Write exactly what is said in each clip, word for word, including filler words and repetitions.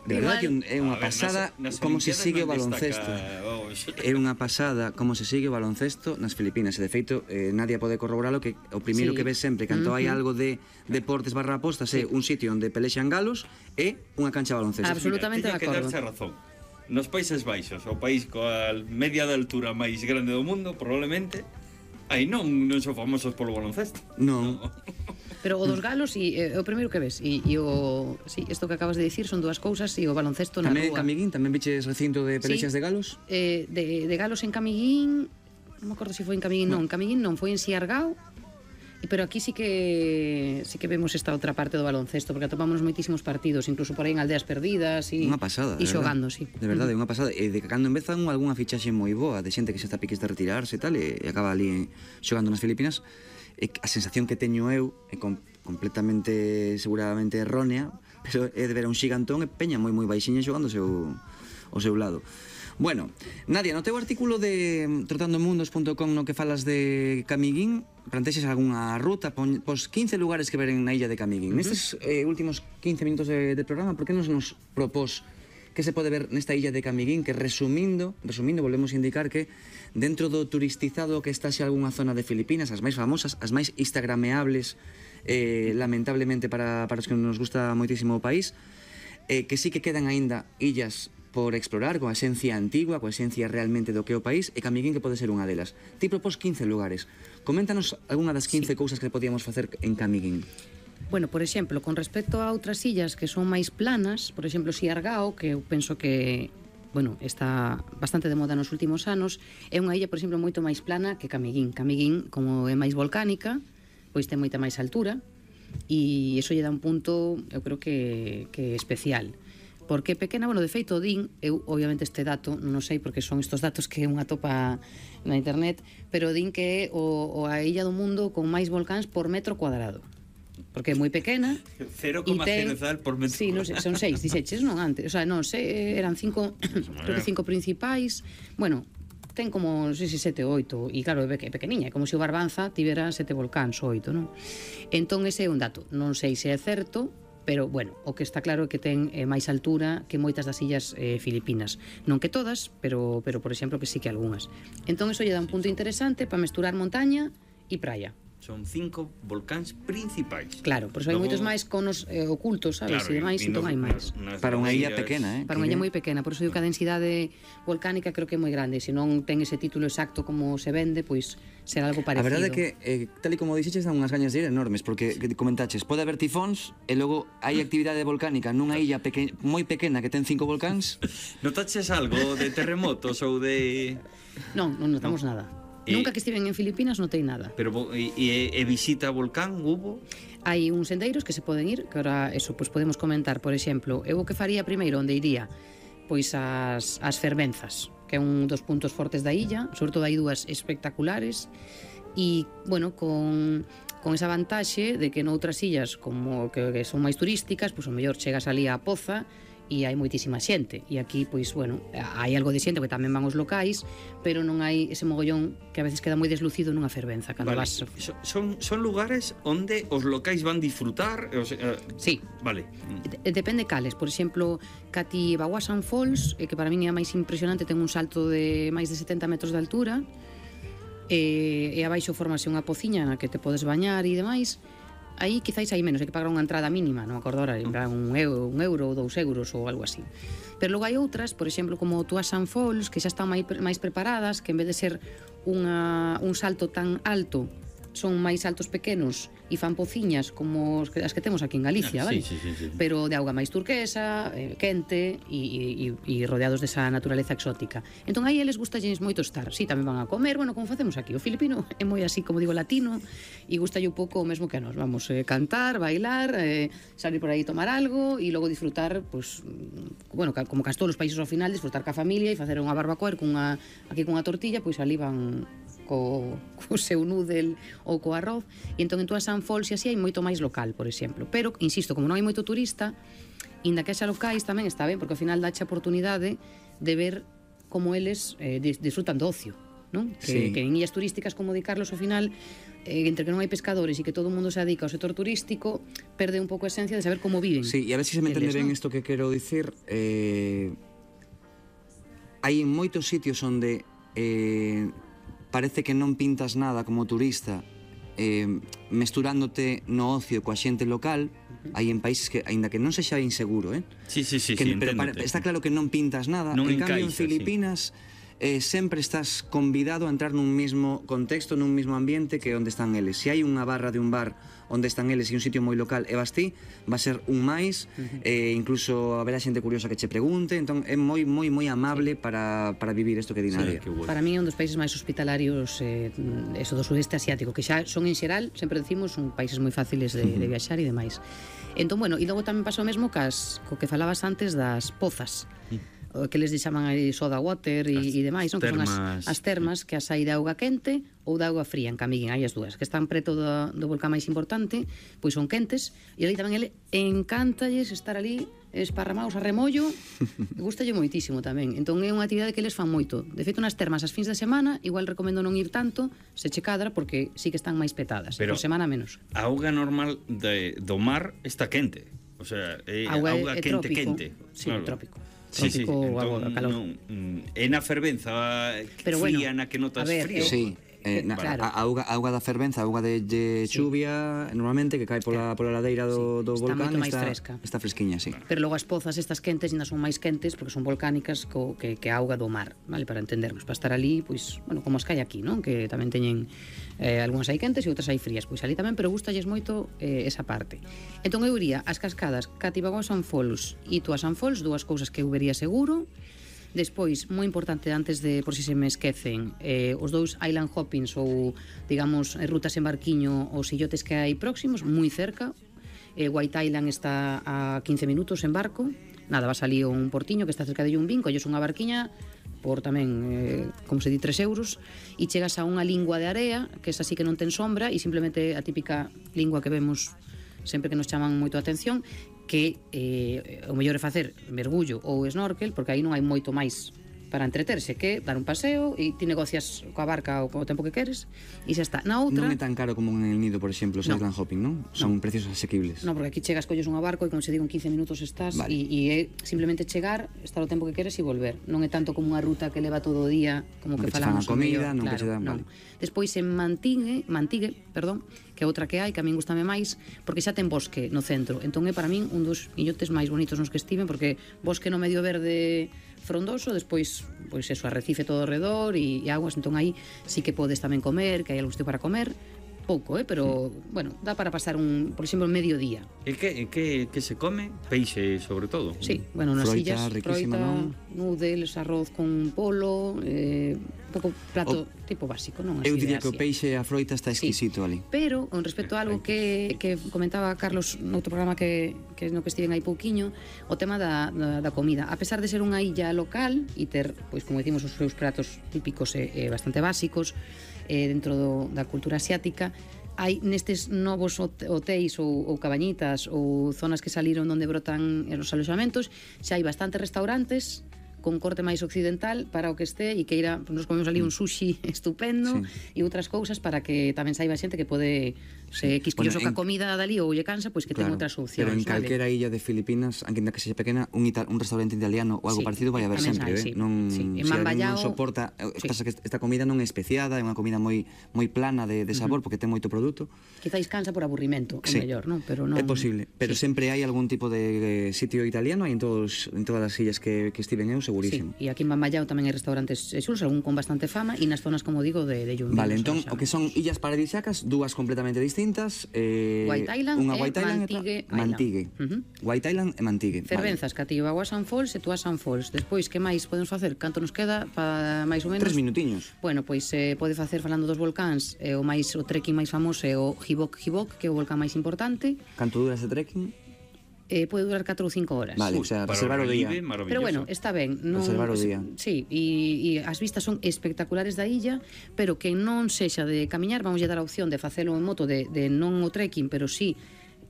De verdade que é unha pasada como se sigue o baloncesto. É unha pasada como se sigue o baloncesto nas Filipinas. E de feito, eh, Nadia pode corroboralo que o primeiro sí. que ves sempre cando uh -huh. hai algo de deportes barra apostas é un sitio onde pelexan galos e unha cancha de baloncesto. Absolutamente de acordo. Que darse razón. Nos Países Baixos, o país coa media de altura máis grande do mundo, probablemente aí non non son famosos polo baloncesto. Non. No. Pero o dos galos e eh, o primeiro que ves e, e o sí, isto que acabas de dicir son dúas cousas e o baloncesto na tamén rúa. Tamén Camiguín, tamén viches recinto de pelexas sí. de galos? Eh, de, de galos en Camiguín, non me acordo se foi en Camiguín, non, en Camiguín non, foi en Siargao. Pero aquí sí que sí que vemos esta outra parte do baloncesto, porque atopamos moitísimos partidos, incluso por aí en aldeas perdidas e unha pasada, e xogando, sí. De verdade, unha pasada, e de que cando empezan algunha fichaxe moi boa de xente que xa está piques de retirarse e tal, e acaba ali xogando nas Filipinas. E a sensación que teño eu é com, completamente, seguramente errónea, pero é de ver a un xigantón e peña moi moi baixiña xogando o seu, o seu lado. Bueno, Nadia, no teu artículo de trotando mundos punto com no que falas de Camiguín, plantexes algunha ruta, pos quince lugares que ver na illa de Camiguín. Uh -huh. Nestes eh, últimos quince minutos de, de programa, por que nos nos propós que se pode ver nesta illa de Camiguín, que resumindo, resumindo, volvemos a indicar que dentro do turistizado que está xa algunha zona de Filipinas, as máis famosas, as máis instagrameables, eh, lamentablemente para, para os que nos gusta moitísimo o país, eh, que sí que quedan aínda illas por explorar, con a esencia antigua, con a esencia realmente do que é o país, e Camiguín que pode ser unha delas. Ti propós quince lugares. Coméntanos algunha das quince sí. cousas que podíamos facer en Camiguín. Bueno, por exemplo, con respecto a outras illas que son máis planas, por exemplo, Siargao, que eu penso que bueno, está bastante de moda nos últimos anos, é unha illa, por exemplo, moito máis plana que Camiguín. Camiguín, como é máis volcánica, pois ten moita máis altura, e iso lle dá un punto, eu creo que, que especial. Porque pequena, bueno, de feito, din, eu obviamente este dato non sei porque son estos datos que unha topa na internet, pero din que é o, o a illa do mundo con máis volcáns por metro cuadrado. Porque é moi pequena. cero coma cero por metro. Sí, non sei, son seis, dixeches, non antes. O sea, non sei, eran cinco, creo que cinco principais. Bueno, ten como, non sei se sete ou oito, e claro, é pequeniña, é como se o Barbanza tivera sete volcáns ou oito, non? Entón, ese é un dato. Non sei se é certo, pero, bueno, o que está claro é que ten eh, máis altura que moitas das illas eh, filipinas. Non que todas, pero, pero por exemplo, que sí que algunhas. Entón, iso lle dá un punto interesante para mesturar montaña e praia. Son cinco volcáns principais. Claro, por iso hai moitos máis conos eh, ocultos, sabes? Claro, e demais, entón hai máis. Para unha illa pequena, eh? Para unha illa moi pequena, por iso digo que a densidade volcánica creo que é moi grande. Se non ten ese título exacto como se vende, pois será algo parecido. A verdade é que, eh, tal e como dixeches, dan unhas gañas de ir enormes, porque que comentaches, pode haber tifóns e logo hai actividade volcánica nunha illa peque moi pequena que ten cinco volcáns. Notaches algo de terremotos ou de... Non, non notamos no. nada. Eh, Nunca que estiven en Filipinas notei nada. Pero e, e, e visita a volcán hubo? Hai uns sendeiros que se poden ir, que ahora eso pois podemos comentar, por exemplo, eu o que faría primeiro onde iría, pois as as fervenzas, que é un dos puntos fortes da illa, sobre todo hai dúas espectaculares e, bueno, con con esa vantaxe de que noutras illas como que, que son máis turísticas, pois o mellor chegas ali á Poza e hai moitísima xente, e aquí, pois, bueno, hai algo de xente que tamén van os locais, pero non hai ese mogollón que a veces queda moi deslucido nunha fervenza cando vale. vas... Son, son lugares onde os locais van disfrutar? O sea, uh... Sí. Vale. Depende cales, por exemplo, Cati Bawasan Falls, que para min é a máis impresionante, ten un salto de máis de setenta metros de altura, e, e abaixo formase unha pociña na que te podes bañar e demais. Aí quizáis hai menos, hai que pagar unha entrada mínima, non me acordo ahora, un euro, un euro ou dous euros ou algo así. Pero logo hai outras, por exemplo, como Tuasan Falls, que xa están máis, máis preparadas, que en vez de ser unha, un salto tan alto, son máis altos pequenos e fan pociñas como as que temos aquí en Galicia, ah, vale? Sí, sí, sí, sí. Pero de auga máis turquesa, eh, quente e, e, e rodeados desa naturaleza exótica. Entón aí eles gustalles moito estar. Sí, tamén van a comer, bueno, como facemos aquí. O filipino é moi así, como digo, latino, e gustalle un pouco o mesmo que a nós. Vamos eh, cantar, bailar, eh, salir por aí tomar algo e logo disfrutar, pues, bueno, como cas todos os países ao final, disfrutar ca familia e facer unha barbacoa cunha, aquí cunha tortilla, pois ali van co, co seu noodle ou co arroz, e entón en Tuasan Falls e así hai moito máis local, por exemplo. Pero, insisto, como non hai moito turista, inda que xa locais tamén está ben, porque ao final dache a oportunidade de ver como eles eh, disfrutan do ocio, non? Que, Sí. que en illas turísticas, como di Carlos, ao final, eh, entre que non hai pescadores e que todo o mundo se dedica ao sector turístico, perde un pouco a esencia de saber como viven. Sí, e a ver se se me entende eles, ben non? isto que quero dicir. Eh, hai en moitos sitios onde eh, parece que non pintas nada como turista, eh, mesturándote no ocio coa xente local. Hai en países que, aínda que non sexa inseguro, eh? Sí, sí, sí, que, sí, pero para, enténdote. está claro que non pintas nada. Non En cambio, en encaixa, sí. Filipinas eh, sempre estás convidado a entrar nun mismo contexto, nun mismo ambiente que onde están eles. Se hai unha barra de un bar onde están eles e un sitio moi local e vas ti, va a ser un máis, eh, incluso haberá xente curiosa que che pregunte, entón é moi moi moi amable para, para vivir isto que di Nadia. Sí, que bueno. Para mí é un dos países máis hospitalarios eh, eso do sudeste asiático, que xa son en xeral, sempre decimos, son países moi fáciles de, de viaxar e demais. Entón, bueno, e logo tamén pasa o mesmo cas, co que falabas antes das pozas, o que les chaman aí soda water e, As e demais, non? Que son termas. as, as termas que as hai de auga quente ou de auga fría, en Camiguín, hai as dúas, que están preto do, do volcán máis importante, pois son quentes, e ali tamén ele encántalles estar ali esparramados a remollo, gustalle moitísimo tamén. Entón é unha actividade que eles fan moito. De feito, nas termas as fins de semana, igual recomendo non ir tanto, se che cadra, porque sí que están máis petadas, Pero por semana menos. A auga normal de, do mar está quente. O sea, é Auga auga, é quente, trópico. quente. Sí, trópico. Sí, sí, Trópico, agua, entón, calor. non, mm, é na fervenza Pero fría bueno, na que notas a ver, frío. eu- Sí, eh, na, Claro. a, a auga, a auga da fervenza, a auga de, de Sí. chuvia, normalmente que cae pola, pola ladeira do, Sí, do está volcán, moito máis está, fresca. está fresquiña, sí. Pero logo as pozas estas quentes ainda son máis quentes porque son volcánicas co, que, que a auga do mar, vale, para entendernos, para estar ali, pois, bueno, como as que hai aquí, non? Que tamén teñen eh, algunhas hai quentes e outras hai frías, pois ali tamén, pero gustalles moito eh, esa parte. Entón eu iría as cascadas Cativagoa San Fols e Tua San Fols, dúas cousas que eu vería seguro. Despois, moi importante, antes de, por si se me esquecen, eh, os dous island hoppings ou, digamos, eh, rutas en barquiño, os illotes que hai próximos, moi cerca. eh, White Island está a quince minutos en barco. Nada, vas ali a un portiño que está cerca de Yumbín, colles unha barquiña por tamén, eh, como se di, tres euros, e chegas a unha lingua de area, que esa sí que non ten sombra, e simplemente a típica lingua que vemos sempre que nos chaman moito a atención, que eh, o mellor é facer mergullo ou snorkel, porque aí non hai moito máis para entreterse, que dar un paseo e ti negocias coa barca ou co tempo que queres e xa está. Na outra... Non é tan caro como en el Nido, por exemplo, os No. island hopping, non? Son precios asequibles. No, porque aquí chegas, colles unha barco e como se digo en quince minutos estás Vale. e, e é simplemente chegar, estar o tempo que queres e volver. Non é tanto como unha ruta que leva todo o día, como Non que que che fan falamos a comida, o mellor, non que che dan, non. vale. Despois en Mantigue, Mantigue, perdón, que é outra que hai, que a min gustame máis, porque xa ten bosque no centro. Entón é para min un dos illotes máis bonitos nos que estiven, porque bosque no medio verde frondoso, despois, pois eso, arrecife todo ao redor e, e aguas, entón aí sí que podes tamén comer, que hai algún sitio para comer, pouco, eh, pero, bueno, dá para pasar un, por exemplo, medio día. E que, e que, que se come? Peixe, sobre todo. Sí, bueno, nas Froita illas, riquísima, froita, non? noodles, arroz con polo, eh, un pouco prato o, tipo básico, non? Así Eu de diría que o Asia. peixe e a froita está Sí. exquisito ali. Pero, con respecto a algo que, que comentaba Carlos noutro programa que, que no que estiven aí pouquiño, o tema da, da, da comida. A pesar de ser unha illa local e ter, pois como decimos, os seus pratos típicos e, e bastante básicos eh, dentro do, da cultura asiática, hai nestes novos hote- hotéis ou, ou cabañitas ou zonas que saliron onde brotan os aloxamentos, xa hai bastantes restaurantes con corte máis occidental para o que este e que ira, nos comemos ali un sushi estupendo Sí. e outras cousas para que tamén saiba xente que pode se quisquilloso Bueno, ca en- comida dali ou lle cansa, pois que ten outras opcións, pero en vale? calquera illa de Filipinas, aunque que sexa pequena, un, ita- un restaurante italiano ou algo Sí, parecido vai haber tamén sempre, hai, eh? sí. Non, Sí, en se alguén Mambayao- non soporta, eh, Sí. pasa que esta comida non é especiada, é unha comida moi moi plana de, de sabor, porque ten moito produto. Quizáis cansa por aburrimento, o Sí. mellor, non? Pero non... É posible, pero Sí. sempre hai algún tipo de eh, sitio italiano, hai en todos en todas as illas que, que estiven eu, Sí, segurísimo. e aquí en Bambayao tamén hai restaurantes xulos, algún con bastante fama, e nas zonas, como digo, de, de Yumbín. Vale, nos entón, o que son aloxamentos. illas paradisíacas, dúas completamente distintas, eh, White Island unha e White Island e outra Mantigue Island. Mantigue. Ujú. White Island e Mantigue. Fervenzas, Cativagoa San Fols e Tua San Fols. Despois, que máis podemos facer? Canto nos queda para máis ou Vale. menos? Tres minutiños. Bueno, pois eh, pode facer falando dos volcáns, eh, o máis o trekking máis famoso é o Hibok Hibok, que é o volcán máis importante. Canto dura ese trekking? Eh, pode durar catro ou cinco horas. Vale, o Uy, sea, para reservar o día. relieve, maravilloso. Pero bueno, está ben. Non, Reservar o día. Sí, e, e as vistas son espectaculares da illa, pero que non sexa de camiñar, vamos a dar a opción de facelo en moto, de, de non o trekking, pero sí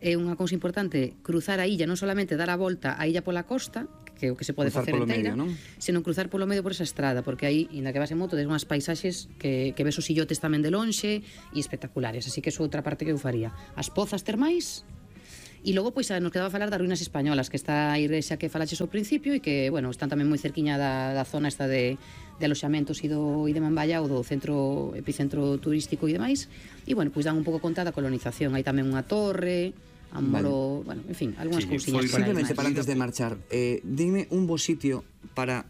é unha cousa importante cruzar a illa, non solamente dar a volta a illa pola costa, que é o que se pode Cruzar facer polo enteira, medio, non? senón cruzar polo medio por esa estrada, porque aí, inda que vas en moto, des unhas paisaxes que, que ves os illotes tamén de lonxe e espectaculares, así que é outra parte que eu faría. As pozas termais. E logo, pois, nos quedaba a falar das ruínas españolas, que está a igrexa que falaches ao principio e que, bueno, están tamén moi cerquiña da, da zona esta de, de aloxamentos e, do, e de Mamballa, ou do centro, epicentro turístico e demais. E, bueno, pois dan un pouco conta da colonización. Hai tamén unha torre, a un molo, vale. Bueno, en fin, algunhas Sí, cousiñas por aí. Simplemente máis. para antes de marchar, eh, dime un bo sitio para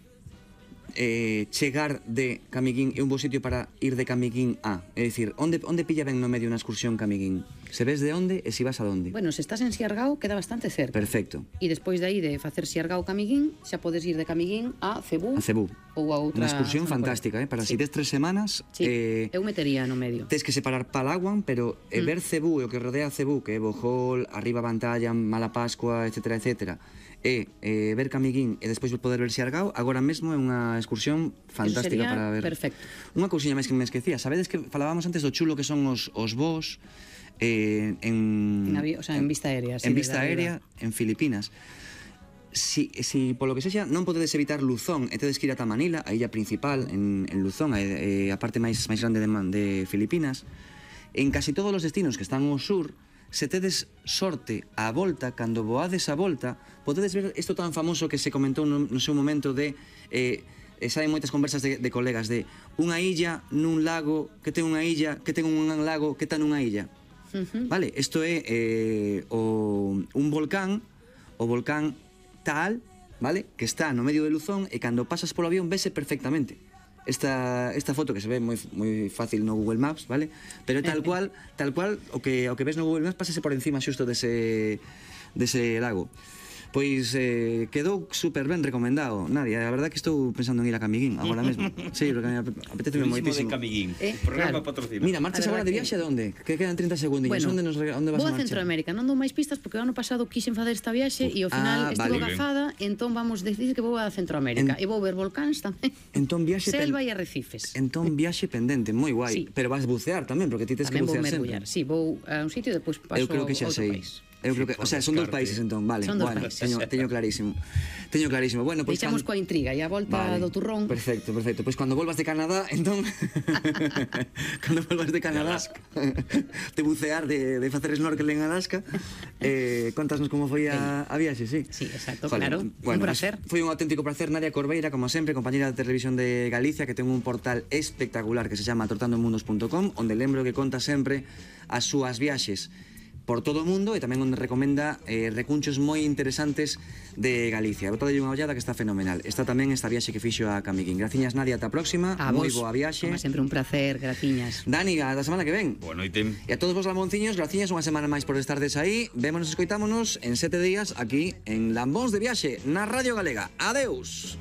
eh, chegar de Camiguín e un bo sitio para ir de Camiguín a. É dicir, onde, onde pilla ben no medio unha excursión Camiguín? Se ves de onde e se vas a onde? Bueno, se estás en Siargao, queda bastante cerca. Perfecto. E despois de aí de facer Siargao Camiguín, xa podes ir de Camiguín a Cebú. A Cebú. Ou a outra. Unha excursión zona por aí. fantástica, eh? Para Sí. si tes tres semanas, Sí, eh, eu metería no medio. tes que separar Palaguan, pero eh, Mm. ver Cebú e o que rodea Cebú, que é Bohol, arriba Pantalla, Mala Pascua, etcétera, etcétera, e eh, ver Camiguín e despois poder ver Siargao, agora mesmo é unha excursión fantástica sería para ver. perfecto. Unha cousiña máis que me esquecía, sabedes que falábamos antes do chulo que son os, os vos eh, en, En avi- o sea, en vista aérea, sí, en desde vista arriba. aérea en Filipinas. Si, si polo que sexa non podedes evitar Luzón e tedes que ir ata Manila, a illa principal en, en Luzón, a, a parte máis máis grande de, Man- de Filipinas, en casi todos os destinos que están ao sur, se tedes sorte á volta, cando voades á volta, podedes ver isto tan famoso que se comentou no, no seu momento de eh, e saen moitas conversas de, de colegas de unha illa nun lago que ten unha illa que ten un lago que está nunha illa. Uh-huh. Vale, isto é eh, o, un volcán, o volcán tal, vale, que está no medio de Luzón e cando pasas polo avión vese perfectamente. Esta, esta foto que se ve moi, moi fácil no Google Maps, vale? Pero tal cual, tal cual o que o que ves no Google Maps pásase por encima xusto dese dese lago. Pois eh, quedou super ben recomendado. Nadia, a verdad que estou pensando en ir a Camiguín agora mesmo. Sí, porque me apetece Turismo de moitísimo. Camiguín. Eh, Programa claro. patrocinado. Mira, marchas A agora verdad de que- viaxe a onde? Que quedan treinta segundiños. Bueno, onde nos rega- onde vas vou a a marchar? Centroamérica, non dou máis pistas porque o ano pasado quixen facer esta viaxe e ao Ah, final estivo vale. gafada, entón vamos decir que vou a En- Centroamérica e vou ver volcáns tamén. Entón viaxe pen- Selva e arrecifes. Entón viaxe pendente, moi guai. Sí. Pero vas bucear tamén, porque ti tes que Tamén vou bucear mergullar. sempre. Sí, vou a un sitio e depois paso Eu creo que xa a outro sei. país. Eu creo que, o sea, son dos descarte. países entón, vale. Son dos bueno, países. teño, teño clarísimo. Teño clarísimo. Bueno, pois Deixamos coa intriga e a volta do turrón. Perfecto, perfecto. Pois cando volvas de Canadá, entón cando volvas de Canadá, de bucear, de, de facer snorkel en Alaska, eh, contasnos como foi a, a viaxe, sí. Sí, exacto, Joder, claro. Bueno, Un placer. pues, foi un auténtico placer, Nadia Corbeira, como sempre, compañera de Televisión de Galicia, que ten un portal espectacular que se chama tortandomundos punto com, onde lembro que conta sempre as súas viaxes por todo o mundo e tamén onde recomenda eh, recunchos moi interesantes de Galicia. Botadelle unha ollada que está fenomenal. Está tamén esta viaxe que fixo a Camiguín. Graciñas, Nadia, ata a próxima. A Moi vos, boa viaxe. como sempre un placer, graciñas. Dani, a da semana que ven. Boa noite. E a todos vos lamonciños, graciñas unha semana máis por estardes aí. Vémonos e escoitámonos en sete días aquí en Lambóns de Viaxe, na Radio Galega. Adeus.